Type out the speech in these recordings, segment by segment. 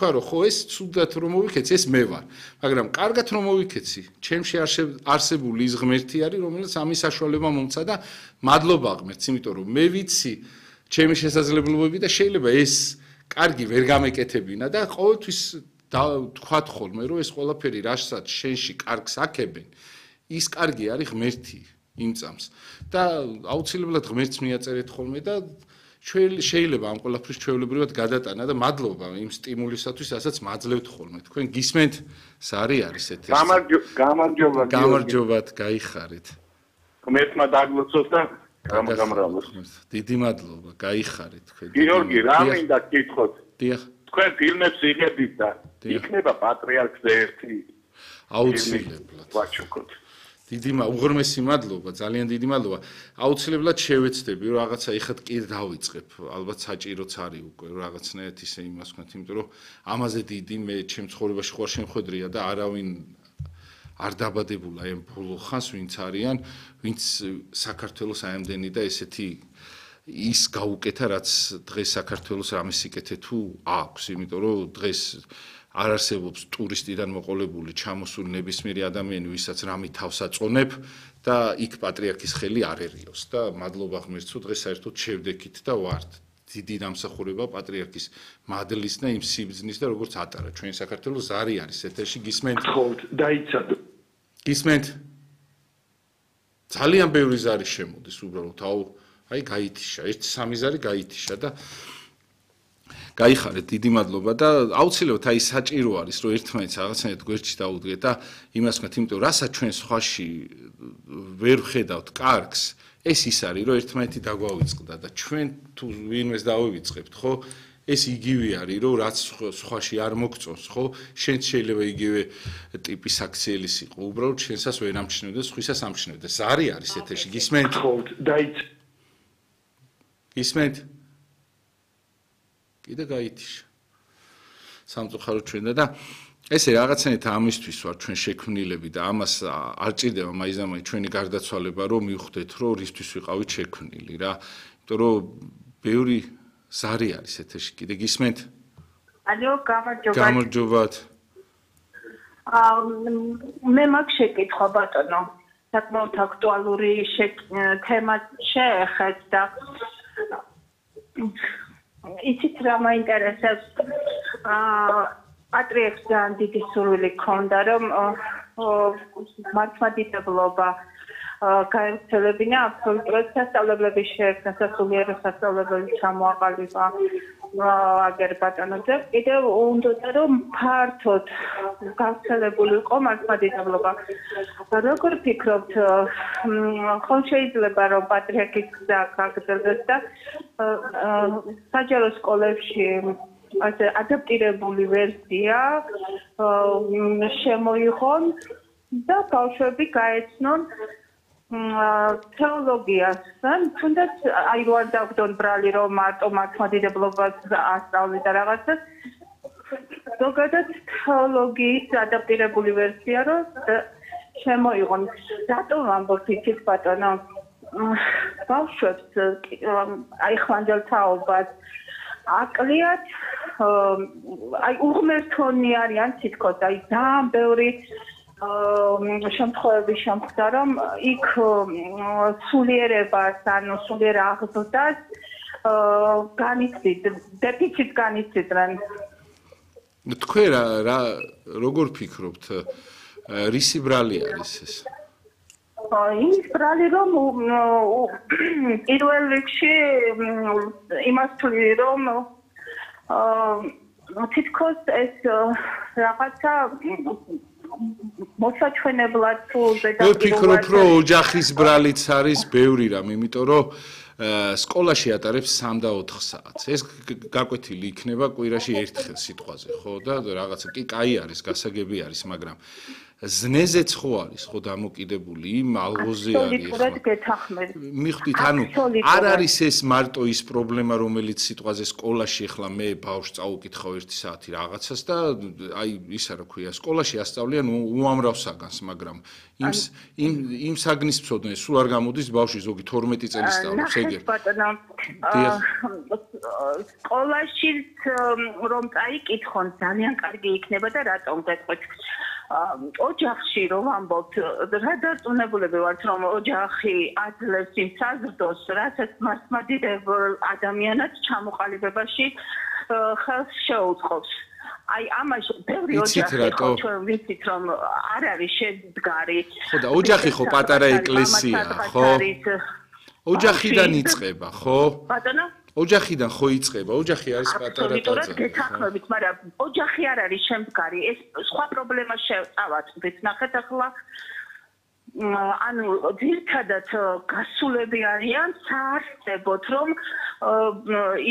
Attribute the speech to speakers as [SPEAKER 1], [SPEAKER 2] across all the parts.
[SPEAKER 1] თქვა რომ ხო ეს ცუდად რომ მოვიქეცი ეს მე ვარ მაგრამ კარგად რომ მოვიქეცი ჩემში არსებული ის ღმერთი არის რომელიც ამის საშუალება მომცა და მადლობა ღმერთს იმიტომ რომ მე ვიცი ჩემი შესაძლებლობები და შეიძლება ეს კარგი ვერ გამეკეთებინა და ყოველთვის თქვათ ხოლმე რომ ეს ყველაფერი რასაც შენში კარგს აქებენ ის კარგი არის ღმერთი იმ წამს და აუცილებლად ღმერთს მიაწერეთ ხოლმე და შეიძლება ამ ყველაფრის ჩვეულებრივად გადატანა და მადლობა იმ სტიმულისათვის, რასაც მაძლევთ ხოლმე. თქვენ გისმენთ, სარი არის ეთერში. გამარჯობათ, გაიხარეთ.
[SPEAKER 2] ღმერთმა დაგლოცოს და გამრავლოს.
[SPEAKER 1] დიდი მადლობა, გაიხარეთ თქვენ.
[SPEAKER 2] გიორგი, რა მინდა გითხოთ?
[SPEAKER 1] დიახ.
[SPEAKER 2] თქვენ ფილმებს იღებთ და იქნება პატრიარქზე ერთი
[SPEAKER 1] აუცილებლად.
[SPEAKER 2] ვაჩუქოთ.
[SPEAKER 1] უღრმესი მადლობა, ძალიან დიდი მადლობა. აუცილებლად შევეცდები, რომ რაღაცა ეხლა კი დავიწყებ. ალბათ საჭიროც არის უკვე რაღაცნაირად ისე იმას ვქნათ, იმიტომ რომ ამაზე დიდი მე ჩემ ცხოვრებაში ხوار შემხედრია და არავინ არ დაბადებულა ამ ბოლო ხანს, ვინც არიან, ვინც საქართველოს აემდენი და ესეთი ის გაუკეთა, რაც დღეს საქართველოს რამე სიკეთე თუ აქვს, იმიტომ რომ დღეს არ არსებობს ტურისტიდან მოყოლებული ჩამოსული ნებისმიერი ადამიანი, ვისაც რამე თავს აწონებ და იქ პატრიარქის ხელი არ ერიოს და მადლობა ღმერთს, რომ დღეს საერთოდ შევდექით და ვართ. დიდი დამსახურება პატრიარქის მადლის და იმ სიბრძნის და როგორც ატარა ჩვენ საქართველოს ზარი არის ეთერში გისმენთ?
[SPEAKER 2] დაიცადო.
[SPEAKER 1] გისმენთ? ძალიან ბევრი ზარი შემოდის უბრალოდ, აი გაითიშა, 1-3 ზარი გაითიშა და გაიხარეთ, დიდი მადლობა და აუცილებლად აი საჭირო არის რომ ერთმანეთს რაღაცნაირად გვერდში დაუდგეთ და იმას ვქნათ, იმიტომ რომ რასაც ჩვენ სხვაში ვერ ვხედავთ კარგს, ეს ის არის რომ ერთმანეთი დაგვავიწყდა და ჩვენ თუ ვინმეს დავივიწყებთ, ხო? ეს იგივე არის რომ რაც სხვაში არ მოგწონს, ხო? შენც შეიძლება იგივე ტიპის აქციელის იყო, უბრალოდ შენსას ვერ ამჩნევდეს, სხვისას ამჩნევდეს. ზარი არის ეთერში, გისმენთ? გისმენთ? კიდე გაითიშა. სამწუხაროდ ჩვენდა და ესე რაღაცნაირად ამისთვის ვარ ჩვენ შექმნილები და ამას არ ჭირდება მაიზამაი ჩვენი გარდაცვალება რომ მივხვდეთ რომ რისთვის ვიყავით შექმნილი რა. იმიტომ რომ ბევრი ზარი არის ეთერში. კიდე გისმენთ?
[SPEAKER 3] ალო, გამარჯობათ.
[SPEAKER 1] გამარჯობათ.
[SPEAKER 3] მე მაგ შეკითხვა ბატონო. საკმაოდ აქტუალური თემა შეეხეთ და იცით რა მაინტერესებს პატრიარქს ძალიან დიდი სურვილი ჰქონდა რომ მართლმადიდებლობა გაემცელებინა აბსოლუტურად სასწავლებლების შეერთება სასულიერო სასწავლებლები ჩამოაყალიბა აგერ ბატონოზე კიდევ უნდა რომ ფართოდ გავრცელებული იყო მართლმადიდებლობა როგორ ფიქრობთ ხომ შეიძლება რომ პატრიარქის გზა გაგრძელდეს და საჯარო სკოლებში ასე ადაპტირებული ვერსია შემოიღონ და ბავშვები გაეცნონ თეოლოგიას და თუნდაც აი რო არ დავგდონ ბრალი რომ მარტო მართლმადიდებლობას ასწავლი და რაღაცას ზოგადად თეოლოგიის ადაპტირებული ვერსია რომ შემოიღონ რატომ ამბობთ იცით ბატონო ბავშვებს აი ხვანდელ თაობას აკლიათ აი უღმერთონი არიან თითქოს აი ძალიან ბევრი შემთხვევები შემხდა რომ იქ სულიერებას ანუ სულიერ აღზრდას განიცდით დეფიციტს განიცდიან
[SPEAKER 1] თქვენ რა როგორ ფიქრობთ რისი ბრალი არის ეს
[SPEAKER 3] ის ბრალი რომ პირველ რიგში იმას თვლი რომ თითქოს ეს რაღაცა მოსაჩვენებლად თუ
[SPEAKER 1] მე ფიქრობ რომ ოჯახის ბრალიც არის ბევრი რამ იმიტომ რომ სკოლაში ატარებს 3 და 4 საათს ეს გაკვეთილი იქნება კვირაში ერთხელ სიტყვაზე ხო და რაღაცა კი კაი არის გასაგები არის მაგრამ ზნეზეც ხო არის ხო დამოკიდებული იმ ალღოზე არის ხო მიხვდით ანუ არ არის ეს მარტო ის პრობლემა რომელიც სიტყვაზე სკოლაში ახლა მე ბავშვს წაუკითხავ 1 საათი რაღაცას და აი ისა რა ქვია სკოლაში ასწავლიან უამრავ საგანს მაგრამ იმ საგნის მცოდნე სულ არ გამოდის ბავშვი ზოგი 12 წელი სწავლობს ეგ
[SPEAKER 3] სკოლაში რომ წაიკითხონ ძალიან კარგი იქნება და რატომ გეტყვით ოჯახში რომ ამბობთ რა დარწმუნებულები ვართ რომ ოჯახი აძლევს იმ საზრდოს რასაც მართლმადიდებელ ადამიანად ჩამოყალიბებაში ხელს შეუწყობს აი ამაში ბევრი ოჯახი ხო ჩვენ ვიცით რომ არ არის შედგარი
[SPEAKER 1] ხო და ოჯახი ხო პატარა ეკლესია ხო ოჯახიდან იწყება ხო
[SPEAKER 3] ბატონო
[SPEAKER 1] ოჯახიდან ხო იწყება ოჯახი არის პატარა ტაძარი
[SPEAKER 3] გეთანხმებით მაგრამ ოჯახი არ არის შემდგარი ეს სხვა პრობლემა შევწავათ ნახეთ ახლა ანუ ძირთადად გასულები არიან საარსებოდ რომ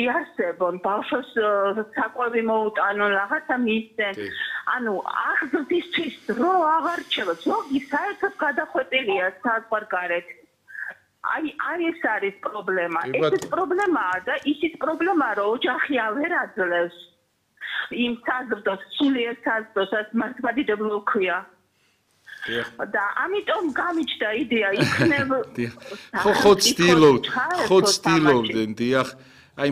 [SPEAKER 3] იარსებონ ბავშვს საკვები მოუტანონ რაღაცა მისცენ ანუ აღზრდისთვის დრო აღარ რჩება ზოგი საერთოდ გადახვეწილია საზღვარგარეთ აი ეს არის პრობლემა ეს პრობლემაა და ისიც პრობლემაა რომ ოჯახი აღარ აძლევს იმ საზრდოს სულიერ საზრდოსაც მართლმადიდებლო ქვია და ამიტომ გამიჩნდა იდეა იქნებ
[SPEAKER 1] ხო ცდილობდნენ დიახ აი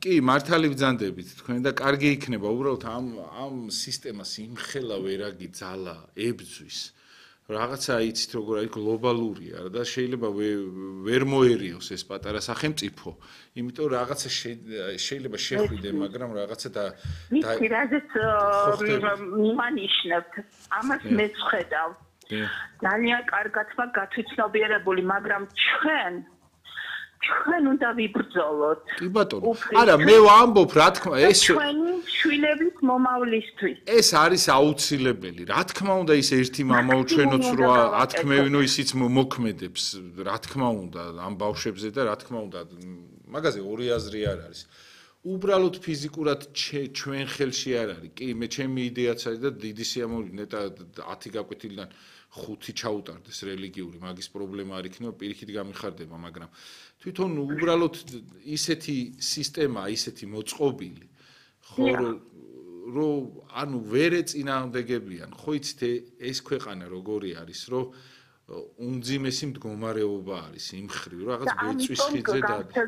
[SPEAKER 1] კი მართალი ბრძანდებით თქვენ და კარგი იქნება უბრალოდ ამ სისტემას იმხელა ვერაგი ძალა ებძვის რაღაცა იცით როგორ არის გლობალურია და შეიძლება ვერ მოერიოს ეს პატარა სახელმწიფო იმიტომ რაღაცა შეიძლება შეხვიდე მაგრამ რაღაცა და
[SPEAKER 3] რაზეც მიმანიშნებთ ამას მეც ხედავ ძალიან კარგად მაგ გათვითცნობიერებული მაგრამ ჩვენ უნდა ვიბრძოლოთ
[SPEAKER 1] კი ბატონო არა მე ვამბობ რა თქმა ეს
[SPEAKER 3] ჩვენი შვილების მომავლისთვის
[SPEAKER 1] ეს არის აუცილებელი რა თქმა უნდა ის ერთი მამაო ჩვენოც რო ათქმევინო ისიც მოქმედებს რა თქმა უნდა ამ ბავშვებზე და რა თქმა უნდა მაგაზე ორი აზრი არ არის უბრალოდ ფიზიკურად ჩვენ ხელში არ არის კი მე ჩემი იდეაც არის და დიდი სიამოვნებით ნეტა 10 გაკვეთილიდან 5 ჩაუტარდეს რელიგიური მაგის პრობლემა არ იქნება პირიქით გამიხარდება მაგრამ თვითონ უბრალოდ ისეთი სისტემა ისეთი მოწყობილი ხო რომ ანუ ვერ ეწინააღმდეგებიან ხო იცით ეს ქვეყანა როგორი არის რომ უმძიმესი მდგომარეობა არის იმ ხრივ რაღაც გვეწვისხიძე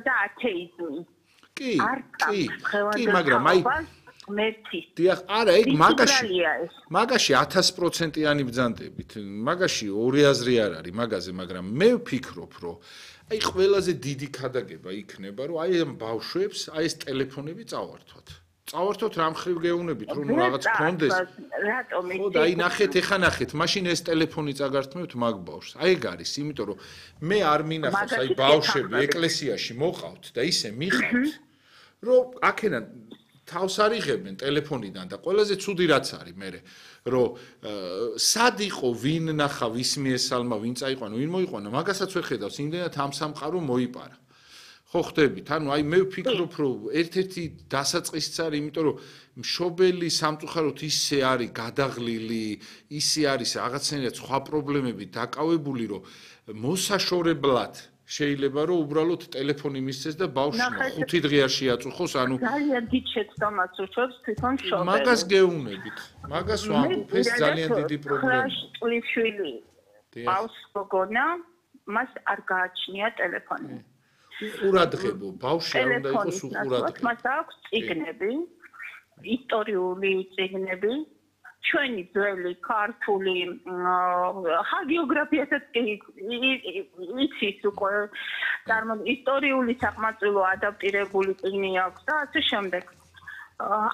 [SPEAKER 1] და
[SPEAKER 3] ათეიზმი
[SPEAKER 1] კი მაგრამ აი დიახ არა ეგ მაგაში 1000%-იანი ბრძანდებით მაგაში ორი აზრი არ არის მაგაზე მაგრამ მე ვფიქრობ რომ აი ყველაზე დიდი ქადაგება იქნება რომ აი ამ ბავშვებს აი ეს ტელეფონები წავართვათ რამ ხრივ გეუნებით რომ რაღაც კონდეს ხო და აი ნახეთ ეხა ნახეთ მაშინ ეს ტელეფონი წაგართმევთ მაგ ბავშვს აი ეგ არის იმიტომ რომ მე არ მინახავს აი ბავშვები ეკლესიაში მოყავთ და ისე მიხავთ რომ აქედან თავს არიღებენ ტელეფონიდან და ყველაზე ცუდი რაც არის მე რომ სად იყო ვინ ნახა ვის მიესალმა ვინ წაიყვანა ვინ მოიყვანა მაგასაც ვერ ხედავს იმდენად ამ სამყარო მოიპარა ხო ხდებით ანუ აი მე ვფიქრობ რომ ერთ-ერთი დასაწყისიც არის იმიტომ რომ მშობელი სამწუხაროდ ისე არის გადაღლილი ისე არის რაღაცნაირად სხვა პრობლემები დაკავებული რომ მოსაშორებლად შეიძლება რომ უბრალოდ ტელეფონი მისცეს და ბავშვმა 5 დღე არ შეაწუხოს ანუ
[SPEAKER 3] ძალიან დიდ შეცდომას უშვებს თვითონ მშობელი
[SPEAKER 1] მაგას გეუნებით მაგას ვამბობ ეს ძალიან დიდი პრობლემაა
[SPEAKER 3] ტლიფშვილი ბავშვს გოგონა მას არ გააჩნია ტელეფონი
[SPEAKER 1] უყურადღებო ბავშვი არ უნდა იყოს უყურადღებო
[SPEAKER 3] მას აქვს წიგნები ისტორიული წიგნები ჩვენი ძველი ქართული ჰაგიოგრაფიასაც იცის უკვე ისტორიული საყმაწვილო ადაპტირებული წიგნი აქვს და ასე შემდეგ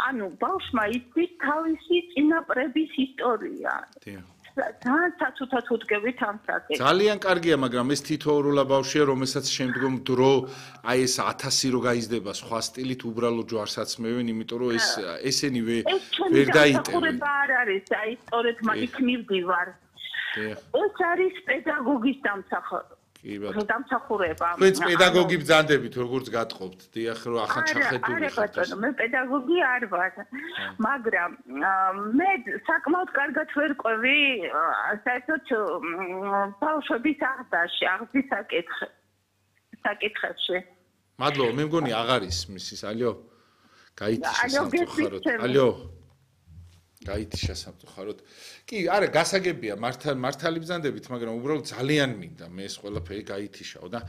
[SPEAKER 3] ანუ ბავშვმა იცის თავისი წინაპრების ისტორია
[SPEAKER 1] ძალიან კარგია, მაგრამ ეს თითოეულა ბავშვია, რომელსაც შემდგომ დრო აი ეს 1000 რო გაიზრდება სხვა სტილით უბრალოდ ჯვარს აცმევენ, იმიტომ რომ ესენი ვერ დაიტევენ.
[SPEAKER 3] არ არის, აი სწორედ იქ მივდივარ. ეს არის პედაგოგის დამსახურება. დამსახურება.
[SPEAKER 1] თქვენც პედაგოგი ბრძანდებით როგორც გატყობთ, დიახ, რომ ახან ჩახედული ხართ.
[SPEAKER 3] არა, მე პედაგოგი არ ვარ, მაგრამ მე საკმაოდ კარგად ვერ ყვევი საერთოდ ბავშვების აღზრდის საკითხებში.
[SPEAKER 1] მადლობა, მე მგონი აღარ ის მისის, ალიო. გაითიშა სამწუხაროდ. ალიო. გაითიშა სამწუხაროდ. კი, არა, გასაგებია, მართალი ბრძანდებით, მაგრამ უბრალოდ ძალიან მინდა მე ეს ყველაფერი გაითიშაო და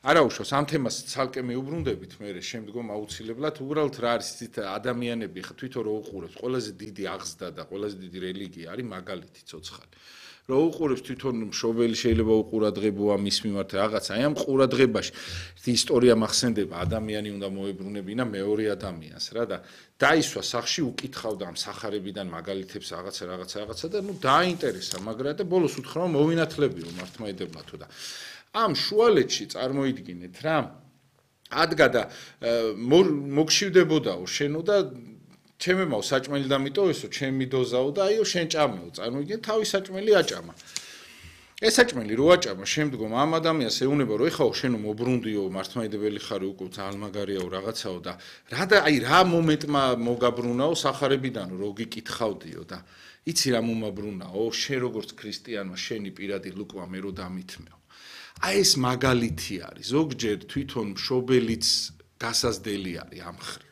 [SPEAKER 1] არა უშავს ამ თემას ცალკე მიუბრუნდებით მე შემდგომ აუცილებლად უბრალოდ რა არის იცით ადამიანები ხა თვითონ რო უყურებს ყველაზე დიდი აღზრდა და ყველაზე დიდი რელიგია არის მაგალითი ცოცხალი რო უყურებს თვითონ მშობელი შეიძლება უყურადღებოა მის მიმართ რაღაცა აი ამ ყურადღებაში ისტორია მახსენდება ადამიანი უნდა მოებრუნებინა მეორე ადამიანს რა და დაისვა სახში უკითხავდა ამ სახარებიდან მაგალითებს რაღაცა და ნუ დააინტერესა მაგრამ და ბოლოს უთხრა მოვინათლებიო მართლმადიდებლათო და ამ შუალედში წარმოიდგინეთ რა ადგა და მოგშივდებოდაო შენო და ჩემემაო საჭმელი დამიტოვესო ჩემი დოზაო და აიო შენ ჭამეო წარმოიდგინე თავის საჭმელი აჭამა ეს საჭმელი რო აჭამა შემდგომ ამ ადამიანს ეუნება რომ ეხაო შენო მობრუნდიო მართლმადიდებელი ხარი უკვე ძალიან მაგარიაო რაღაცაო და რა და აი რა მომენტმა მოგაბრუნაო სახარებიდან რო გიკითხავდიო და იცი რა მომაბრუნაო შენ როგორც ქრისტიანმა შენი პირადი ლუკვა მე რო დამითმეო აი ეს მაგალითი არის ზოგჯერ თვითონ მშობელიც გასაზრდელი არის ამ ხრივ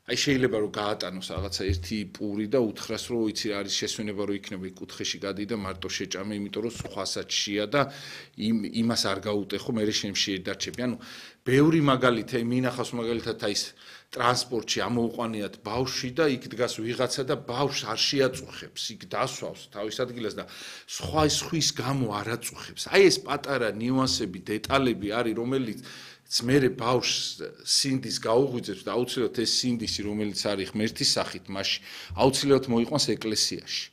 [SPEAKER 1] აი შეიძლება რომ გაატანოს რაღაცა ერთი პური და უთხრას რომ იცი არის შესვენება რომ იქნება იქ კუთხეში გადი და მარტო შეჭამე იმიტომ რომ სხვასაც შეა და იმას არ გაუტეხო მე შემში დარჩები ანუ ბევრი მაგალითი მინახავს მაგალითად აი ეს ტრანსპორტში ამოუყვანიათ ბავშვი და იქ დგას ვიღაცა და ბავშვს არ შეაწუხებს იქ დასვავს თავის ადგილას და სხვის გამო არ აწუხებს აი ეს პატარა ნიუანსები დეტალები არის რომელიც მერე ბავშვს სინდის გაუღვიძებს და აუცილებლად ეს სინდისი რომელიც არის ღმერთის სახით მასში აუცილებლად მოიყვანს ეკლესიაში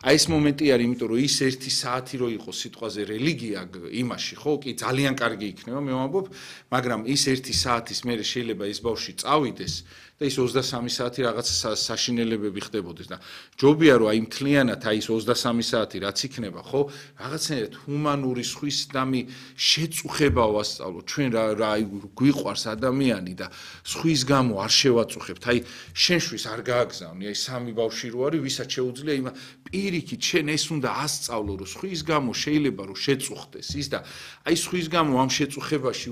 [SPEAKER 1] აი ეს მომენტი არის იმიტომ რომ ის 1 საათი რო იყოს სიტყვაზე რელიგია იმაში ხო კი ძალიან კარგი იქნება მე ვამბობ მაგრამ ის 1 საათის მერე შეიძლება ეს ბავშვი წავიდეს და ის 23 საათი რაღაც საშინელებები ხდებოდეს და ჯობია რომ აი მთლიანად აი ეს 23 საათი რაც იქნება ხო რაღაცნაირად ჰუმანური სხვის დამი შეწუხება ვასწავლო ჩვენ რა აი გვიყვარს ადამიანი და სხვის გამო არ შევაწუხებთ აი შენშვის არ გააგზავნი აი სამი ბავშვი რო არის ვისაც შეუძლია იმ პირიქით შენ ეს უნდა ასწავლო რომ სხვის გამო შეიძლება რომ შეწუხდეს ის და აი სხვის გამო ამ შეწუხებაში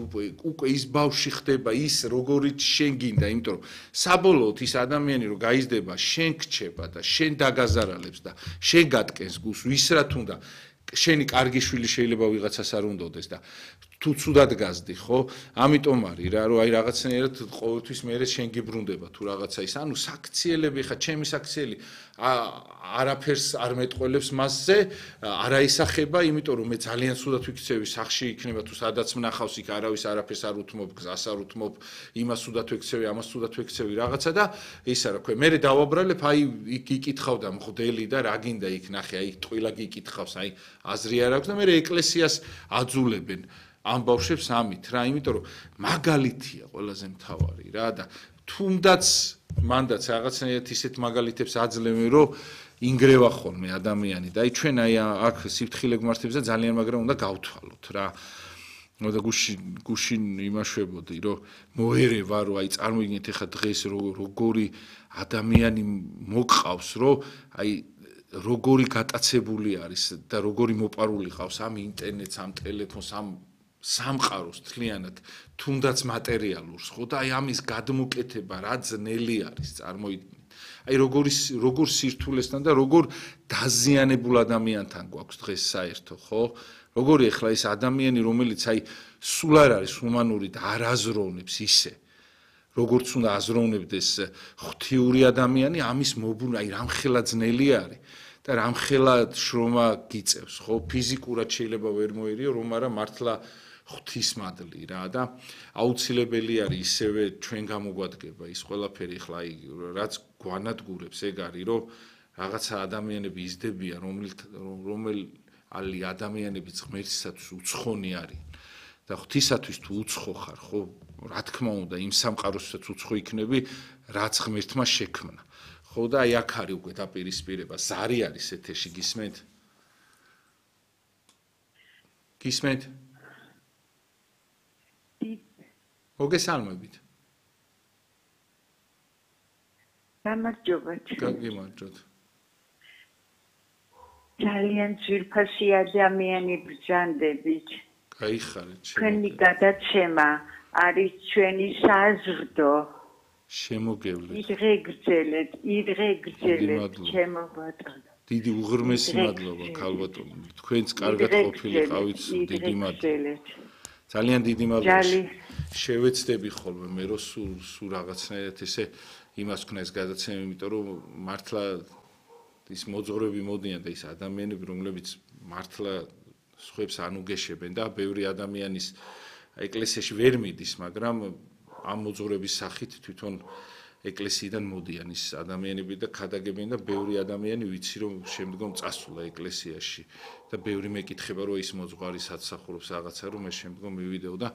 [SPEAKER 1] უკვე ის ბავშვი ხდება ის როგორიც შენ გინდა იმიტომ რომ საბოლოოდ ის ადამიანი რომ გაიზრდება შენ გრჩება და შენ დაგაზარალებს და შენ გატკენს გულს ვისრათ უნდა შენი კარგი შვილი შეიძლება ვიღაცას არ უნდაოდეს და თუ ცუდად გაზდი ხო ამიტომ არის რა რომ აი რაღაცნაირად ყოველთვის მეરે შენ გიბრუნდება თუ რაღაცა ის ანუ საქციელები ხა ჩემი საქციელი არაფერს არ მეტყველებს მასზე არა ისახება იმიტომ რომ მე ძალიან ცუდად ვიქცევი სახში იქნება თუ სადაც მნახავს იქ არავის არაფერს არ უთმობ გზას არ უთმობ იმას ცუდად ვიქცევი ამას ცუდად ვიქცევი რაღაცა და ისა რა ქვია მე დავაბრალებ აი იქ იკითხავდა მღვდელი და რა გინდა იქ ნახე აი ტყილა გიკითხავს აი აზრი არ აქვს და მე ეკლესიას აძულებენ ამ ბავშვებს ამით რა იმიტომ რომ მაგალითია ყველაზე მთავარი რა და თუნდაც მანდაც რაღაცნაირად ისეთ მაგალითებს აძლევენ რომ ინგრევა ხოლმე ადამიანი და აი ჩვენ აი აქ სიფთხილე გმართებზე ძალიან მაგრამ უნდა გავთვალოთ რა და გუშინ იმაშვებოდი რომ მოერევა რომ აი წარმოიდგინეთ ეხა დღეს როგორი ადამიანი მოგყავს რომ აი როგორი გატაცებული არის და როგორი მოპარული ყავს ამ ინტერნეტს ამ ტელეფონს ამ სამყაროს თლიანად თუნდაც მატერიალურს ხო და აი ამის გადმოკეთება რა ძნელი არის წარმოიდგინეთ აი როგორ სირთულესთან და როგორ დაზიანებულ ადამიანთან გვაქვს დღეს საერთო ხო როგორი ახლა ეს ადამიანი რომელიც აი სულ არ არის ჰუმანური და არ აზროვნებს ისე როგორც უნდა აზროვნებდეს ღვთიური ადამიანი ამის მობრუნა აი რამხელა ძნელი არის და რამხელა შრომა გიწევს ხო ფიზიკურად შეიძლება ვერ მოერიო რომ არა მართლა ღვთისმადლი რა და აუცილებელი არის ისევე ჩვენ გამოგვადგება ის ყველაფერი ხლა აი რაც გვანადგურებს ეგ არის რომ რაღაცა ადამიანები იზრდებიან რომელი ადამიანებიც ღმერთისათვის უცხონი არიან და ღვთისათვის თუ უცხო ხარ ხო რა თქმა უნდა იმ სამყაროსაც უცხო იქნები რაც ღმერთმა შექმნა ხო და აი აქ არის უკვე დაპირისპირება ზარი არის ეთერში გისმენთ მოგესალმებით.
[SPEAKER 3] გამარჯობა.
[SPEAKER 1] გაგიმარჯოთ.
[SPEAKER 3] ძალიან ძვირფასი ადამიანი ბრძანდებით.
[SPEAKER 1] გაიხარეთ.
[SPEAKER 3] თქვენი გადაცემა არის ჩვენი საზრდო.
[SPEAKER 1] შემოგევლეთ.
[SPEAKER 3] იდღეგრძელეთ, ჩემო ბატონო.
[SPEAKER 1] დიდი უღრმესი მადლობა, ქალბატონო. თქვენც კარგად ყოფილიყავით, დიდი მადლობა. ძალიან დიდი მადლობა. შევეცდები ხოლმე მე რომ სულ რაღაცნაირად ესე იმას ვქნა ეს გადაცემა, იმიტომ რომ მართლა ის მოძღვრები მოდიან და ის ადამიანები, რომლებიც მართლა სხვებს ანუგეშებენ და ბევრი ადამიანის ეკლესიაში ვერ მიდის, მაგრამ ამ მოძღვრების სახით თვითონ ეკლესიიდან მოდიან ის ადამიანები და ქადაგებენ და ბევრი ადამიანი ვიცი რომ შემდგომ წასულა ეკლესიაში და ბევრი მეკითხება რომ ის მოძღვარი საცსახურობს რაღაცა რომ მე შემდგომ მივიდეო და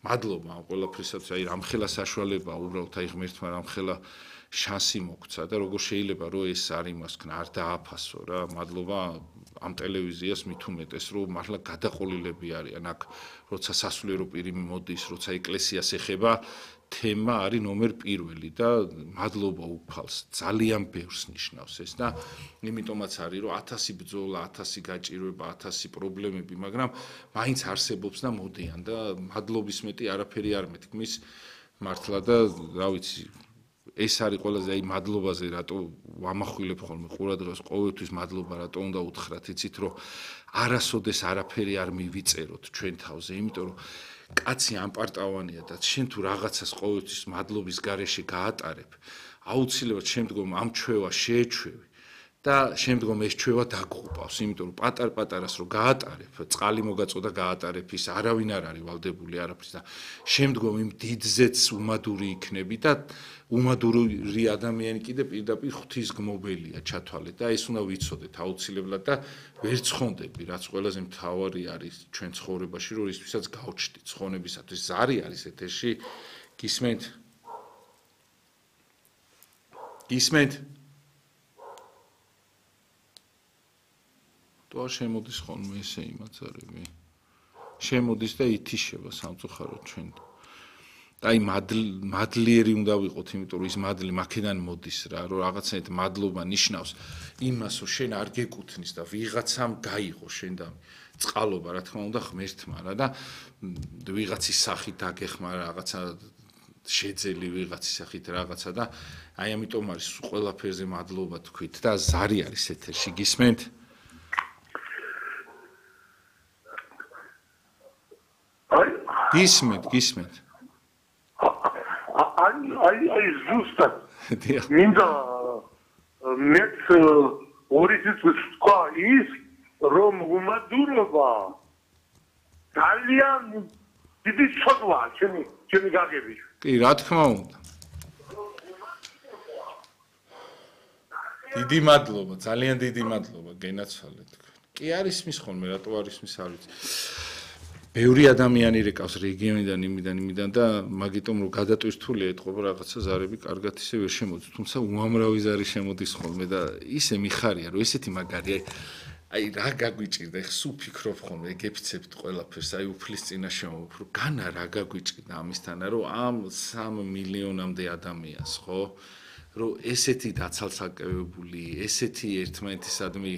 [SPEAKER 1] მადლობა ამ ყველაფრისათვის აი რამხელა საშუალება უბრალოდ აი ღმერთმა რამხელა შანსი მოგცა და როგორ შეიძლება რომ ეს არ იმას ქნა არ დააფასო რა მადლობა ამ ტელევიზიას მით უმეტეს რომ მართლა გადაყოლილები არიან აქ როცა სასულიერო პირი მოდის როცა ეკლესიას ეხება თემა არის ნომერ პირველი და მადლობა უფალს ძალიან ბევრს ნიშნავს ეს და იმიტომაც არის რომ 1000 ბრძოლა 1000 გაჭირვება 1000 პრობლემები მაგრამ მაინც არსებობს და მოდიან და მადლობის მეტი არაფერი არ მეთქმის მართლა და რა ვიცი ეს არის ყველაზე აი მადლობაზე რატო ვამახვილებ ხოლმე ყურადღებას ყოველთვის მადლობა რატო უნდა უთხრათ იცით რომ არასოდეს არაფერი არ მივიწეროთ ჩვენ თავზე იმიტომ რომ კაცი ამპარტავანია და შენ თუ რაღაცას ყოველთვის მადლობის გარეშე გაატარებ აუცილებლად შემდგომ ამ ჩვევა შეეჩვევი და შემდგომ ეს ჩვევა დაგღუპავს იმიტომ რომ პატარ-პატარას რო გაატარებ წყალი მოგაწოდა გაატარებ ის არავინ არ არის ვალდებული არაფრის და შემდგომ იმ დიდზეც უმადური იქნები და უმადური ადამიანი კიდე პირდაპირ ღვთისგმობელია ჩათვალეთ და ეს უნდა ვიცოდეთ აუცილებლად და ვერ ცხონდები რაც ყველაზე მთავარი არის ჩვენ ცხოვრებაში რომ ისთვისაც გავჩდით ცხონებისათვის ზარი არის ეთერში გისმენთ თუ არ შემოდის ხოლმე ესე იმაცარები შემოდის და ითიშება სამწუხაროდ ჩვენ და აი მადლიერი უნდა ვიყოთ იმიტომ რომ ის მადლი მაქედან მოდის რა რომ რაღაცნაირად მადლობა ნიშნავს იმას რომ შენ არ გეკუთვნის და ვიღაცამ გაიღო შენ და წყალობა რა თქმა უნდა ღმერთმა რა და ვიღაცის სახით დაგეხმა რაღაცა შეძელი ვიღაცის სახით რაღაცა და აი ამიტომ არის ყველაფერზე მადლობა თქვით და ზარი არის ეთერში გისმენთ გისმენთ
[SPEAKER 2] აი ზუსტად მინდა მეც ორიცით ვთქვა ის რომ უმადურობა ძალიან დიდი ცოდვაა ჩემი გაგებით
[SPEAKER 1] კი რა თქმა უნდა დიდი მადლობა ძალიან დიდი მადლობა გენაცვალეთ კი არის მის ხოლმე რატო არის მის არ ვიცი ბევრი ადამიანი რეკავს რეგიონიდან იმიდან და მაგიტომ რომ გადატვირთულია ეთყობა რაღაცა ზარები კარგად ისე ვერ შემოდის თუმცა უამრავი ზარი შემოდის ხოლმე და ისე მიხარია რომ ესეთი მაგარი აი რა გაგვიჭირდა ეხ სულ ფიქრობ ხოლმე ეგეფიცებთ ყველაფერს აი უფლის წინაშე უფრო განა რა გაგვიჭირდა ამისთანა რომ ამ 3 მილიონამდე ადამიანს ხო რომ ესეთი დაცალცაკევებული ესეთი ერთმანეთისადმი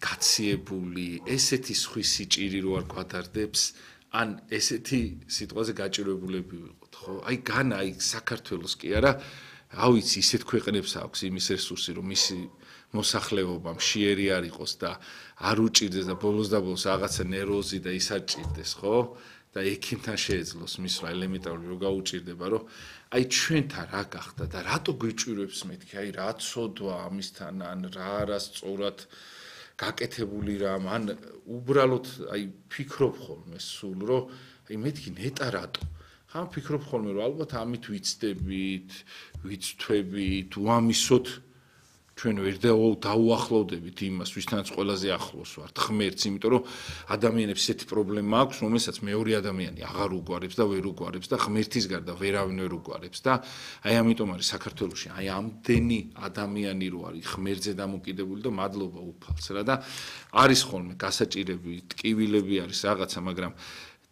[SPEAKER 1] გაციებული ესეთი სხვის სიჭირი რო არ გვადარდებს ან ესეთი სიტყვაზე გაჭირვებულები ვიყოთ ხო აი განა აი საქართველოს კი არა რა ვიცი ისეთ ქვეყნებს აქვს იმის რესურსი რომ მისი მოსახლეობა მშიერი არ იყოს და არ უჭირდეს და ბოლოს და ბოლოს რაღაცა ნერვოზი და ის არ ჭირდეს ხო და ექიმთან შეეძლოს მისვლა ელემენტარული რო გაუჭირდება რომ აი ჩვენთან რა გახდა და რატო გვიჭირვებს მეთქი აი რა ცოდვა ამისთან ან რა არასწორად გაკეთებული რამ ან უბრალოდ აი ფიქრობ ხოლმე სულ რომ აი მეთქი ნეტა რატო ხან ფიქრობ ხოლმე რომ ალბათ ამით ვიცდებით ვიცთვებით უამისოდ ჩვენ ვერ დაუახლოვდებით იმას ვისთანაც ყველაზე ახლოს ვართ ღმერთს იმიტომ რომ ადამიანებს ესეთი პრობლემა აქვს რომელსაც მეორე ადამიანი აღარ უგვარებს და ვერ უგვარებს და ღმერთის გარდა ვერავინ ვერ უგვარებს და აი ამიტომ არის საქართველოში აი ამდენი ადამიანი რო არის ღმერთზე დამოკიდებული და მადლობა უფალს რა და არის ხოლმე გასაჭირები ტკივილები არის რაღაცა მაგრამ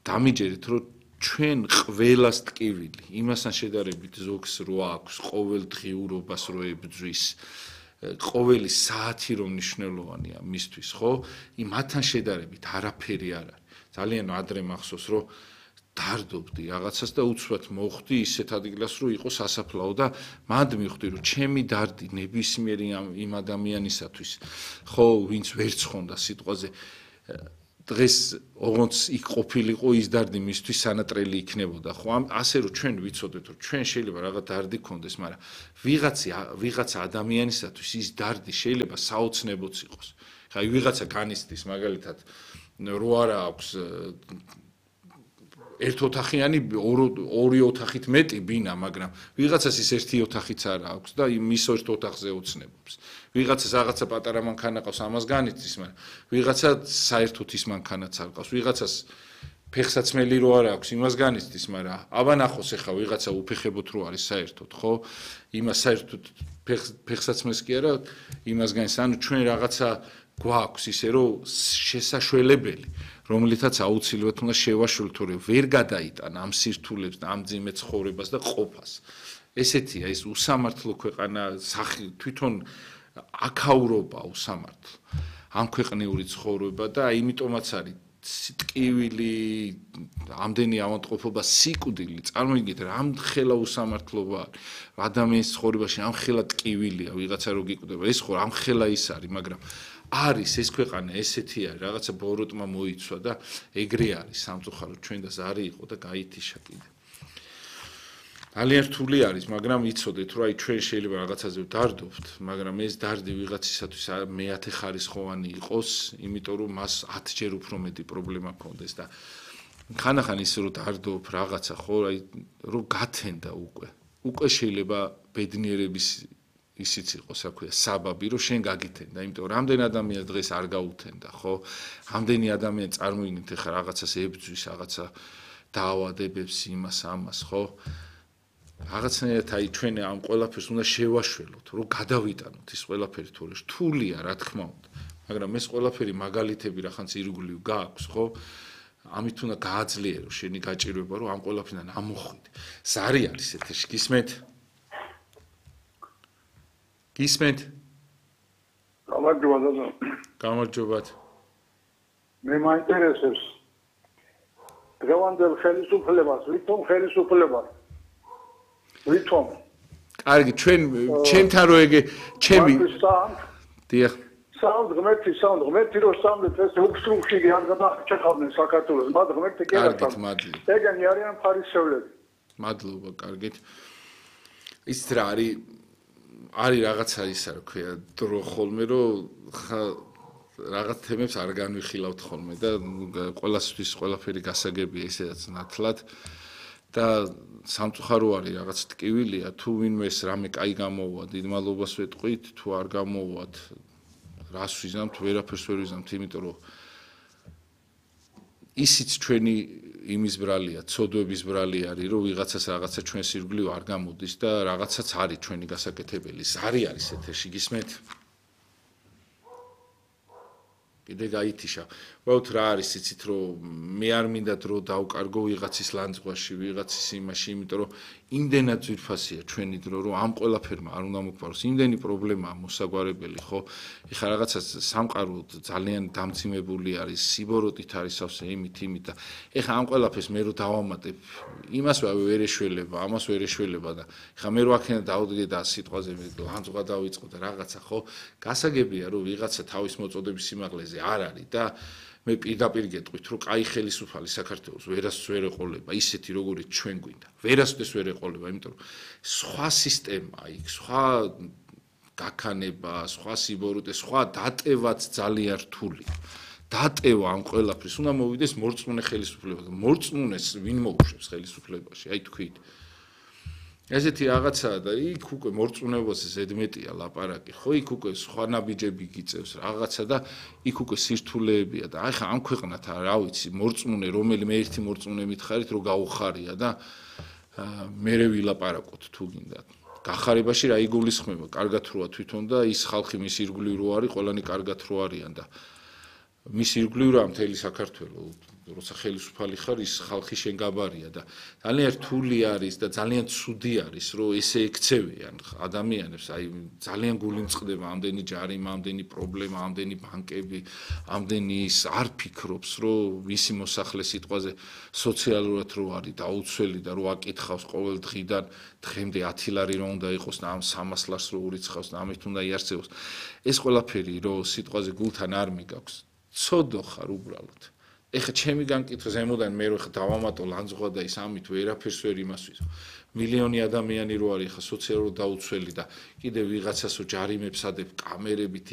[SPEAKER 1] დამიჯერეთ რომ ჩვენ ყველას ტკივილი, იმასთან შედარებით ზოგს რო აქვს ყოველ დღიურობას რო ებძვის, ყოველი საათი რომ მნიშვნელოვანია მისთვის, ხო? მათთან შედარებით არაფერი არ არის. ძალიან ადრე მახსოვს, რომ დარდობდი რაღაცას და უცბად მოხვდი ისეთ ადგილას, რომ იყო სასაფლაო და მანდ მივხვდი, რომ ჩემი დარდი ნებისმიერი იმ ადამიანისათვის, ხო, ვინც ვერ ცხონდა სიტყვაზე დღეს ოღონდ იქ ყოფილიყო ის დარდი მისთვის სანატრელი იქნებოდა ხო ასე რომ ჩვენ ვიცოდეთ რომ ჩვენ შეიძლება რაღაც დარდი გქონდეს მაგრამ ვიღაცა ადამიანისათვის ის დარდი შეიძლება საოცნებოც იყოს ხა ვიღაცა განიცდის მაგალითად რო არა აქვს ერთ ოთახიანი ორი ოთახით მეტი ბინა მაგრამ ვიღაცას ის ერთი ოთახიც არ აქვს და მის ერთ ოთახზე ოცნებობს ვიღაცას რაღაცა პატარა მანქანა ყავს ამას განიცდის მაგრამ ვიღაცა საერთოდ ის მანქანაც არ ყავს ვიღაცას ფეხსაცმელი რო არ აქვს იმას განიცდის მაგრამ აბა ნახოს ახლა ვიღაცა უფეხებოთ რო არის საერთოდ ხო იმას საერთოდ ფეხსაცმელს კი არა იმას განიცდის ანუ ჩვენ რაღაცა გვაქვს ისე რომ შესაშვებელი რომელითაც აუცილებლად უნდა შევაშველოთ რომ ვერ გადაიტან ამ სირთულებს და ამ ძიმე ცხოვრებას და ყოფას ესეთია ეს უსამართლო ქვეყანა თვითონ აქაურობა უსამართლო ამ ქვეყნიური ცხოვრება და იმიტომაც არის ტკივილი ამდენი ავადმყოფობა სიკვდილი წარმოიდგინეთ რამხელა უსამართლობა ადამიანის ცხოვრებაში ამხელა ტკივილია ვიღაცა რო გიკვდება ეს ხო ამხელა ის არის მაგრამ არის ეს ქვეყანა ესეთი არის რაღაცა ბოროტმა მოიცვა და ეგრე არის სამწუხაროდ ჩვენ და ზარი იყო და გაითიშა კიდე ძალიან რთული არის მაგრამ იცოდეთ რომ აი ჩვენ შეიძლება რაღაცაზე ვდარდობთ მაგრამ ეს დარდი ვიღაცისათვის მეათე ხარისხოვანი იყოს იმიტომ რომ მას 10 ჯერ უფრო მეტი პრობლემა ქონდეს და ხანახან ის რომ დარდობ რაღაცა ხო აი რომ გათენდა უკვე შეიძლება ბედნიერების ისიც იყოს აქვია საბაბი რომ შენ გაგითენდა იმიტომ რომ რამდენი ადამიანი დღეს არ გაუთენდა ხო რამდენი ადამიანი წარმოიდგინეთ ახლა რაღაცას ებძვის რაღაცა დაავადებებს იმას ამას ხო რაღაცნაირად აი ჩვენ ამ ყველაფერს უნდა შევაშველოთ რომ გადავიტანოთ ის ყველაფერი თორე რთულია რა თქმა უნდა მაგრამ ეს ყველაფერი მაგალითები რახანც ირგვლივ გააქვს ხო ამით უნდა გააძლიერო შენი გაჭირვება რომ ამ ყველაფერთან ამოხვიდე ზარი არის ეთერში გისმენთ გისმენთ გამარჯობათ
[SPEAKER 4] მე მაინტერესებს დღევანდელ ხელისუფლებას ვითომ
[SPEAKER 1] კარგი ჩემთან რო ეგე ჩემი დიახ
[SPEAKER 4] სამ ღმერთი რო სამეთ ეს უქსრუხი არ გადაჭეხავდნენ საქართველოს მათ ღმერთი კი არა ეგენი არიან ფარისევლები
[SPEAKER 1] მადლობა კარგით ის რა არის რაღაცა ისა რა ქვია დრო ხოლმე რომ რაღაც თემებს არ განვიხილავთ ხოლმე და ყველასთვის ყველაფერი გასაგებია ისედაც ნათლად და სამწუხარო არის რაღაც ტკივილია თუ ვინმეს რამე კაი გამოუვა დიდ მადლობას ვეტყვით თუ არ გამოუვათ რას ვიზამთ ვერაფერს ვერ ვიზამთ იმიტომ რომ ისიც ჩვენი იმის ბრალია ცოდვების ბრალი არის რომ ვიღაცას რაღაცა ჩვენს ირგვლივ არ გამოდის და რაღაცაც არის ჩვენი გასაკეთებელი ზარი არის ეთერში გისმენთ კიდე გაითიშა ვაუთ რა არის იცით რომ მე არ მინდა დრო დავკარგო ვიღაცის ლანძღვაში ვიღაცის იმაში იმიტომ რომ იმდენად ძვირფასია ჩვენი დრო რომ ამ ყველაფერმა არ უნდა მოგფაროს იმდენი პრობლემაა მოსაგვარებელი ხო ეხლა რაღაცა სამყარო ძალიან დამძიმებული არის სიბოროტით არის სავსე იმით და ეხლა ამ ყველაფერს მე რო დავამატებ იმას ვერ ეშველება ამას ვერ ეშველება და ეხლა მე რო აქედან დავდგე და სიტყვაზე ლანძღვა დავიწყო და რაღაცა ხო გასაგებია რომ ვიღაცა თავის მოწოდების სიმაღლეზე არ არის და მე პირდაპირ გეტყვით რომ კაი ხელისუფალი საქართველოს ვერასდროს ვერ ეყოლება ისეთი როგორიც ჩვენ გვინდა ვერასდროს ვერ ეყოლება იმიტომ რომ სხვა სისტემა იქ სხვა გაქანება სხვა სიბოროტე სხვა დატევაც ძალიან რთულია დატევა ამ ყველაფრის უნდა მოვიდეს მორწმუნე ხელისუფლება და მორწმუნეს ვინ მოუშვებს ხელისუფლებაში აი თქვით ესეთი რაღაცაა და იქ უკვე მორწმუნეობაზე ზედმეტია ლაპარაკი ხო იქ უკვე სხვა ნაბიჯები გიწევს რაღაცა და იქ უკვე სირთულეებია და აი ხა ამ ქვეყნად რა ვიცი მორწმუნე რომელიმე ერთი მორწმუნე მითხარით რომ გაუხარია და მერე ვილაპარაკოთ თუ გინდა გახარებაში რა იგულისხმება კარგად როა თვითონ და ის ხალხი მის ირგვლივ რო არის ყველანი კარგად რო არიან და მის ირგვლივ მთელი საქართველო როცა ხელისუფალი ხარ ის ხალხი შენ გაბარია და ძალიან რთული არის და ძალიან ცუდი არის რომ ესე ექცევიან ადამიანებს აი ძალიან გული მწყდება ამდენი ჯარიმა ამდენი პრობლემა ამდენი ბანკები ამდენი ის არ ფიქრობს რომ მისი მოსახლე სიტყვაზე სოციალურად რო არის დაუცველი და რო აკითხავს ყოველ დღიდან დღემდე 10 ლარი რო უნდა იყოს და ამ 300 ლარს რო ურიცხავს და ამით უნდა იარსებოს ეს ყველაფერი რო სიტყვაზე გულთან არ მიგაქვს ცოდო ხარ უბრალოდ ეხა ჩემი განკითხვა ზემოდან მე რო ხა დავამატო ლანძღვა და ის ამით ვერაფერს ვერ იმასვის მილიონი ადამიანი რო არის ხა სოციალურად დაუცველი და კიდე ვიღაცას ჯარიმებს ადებ კამერებით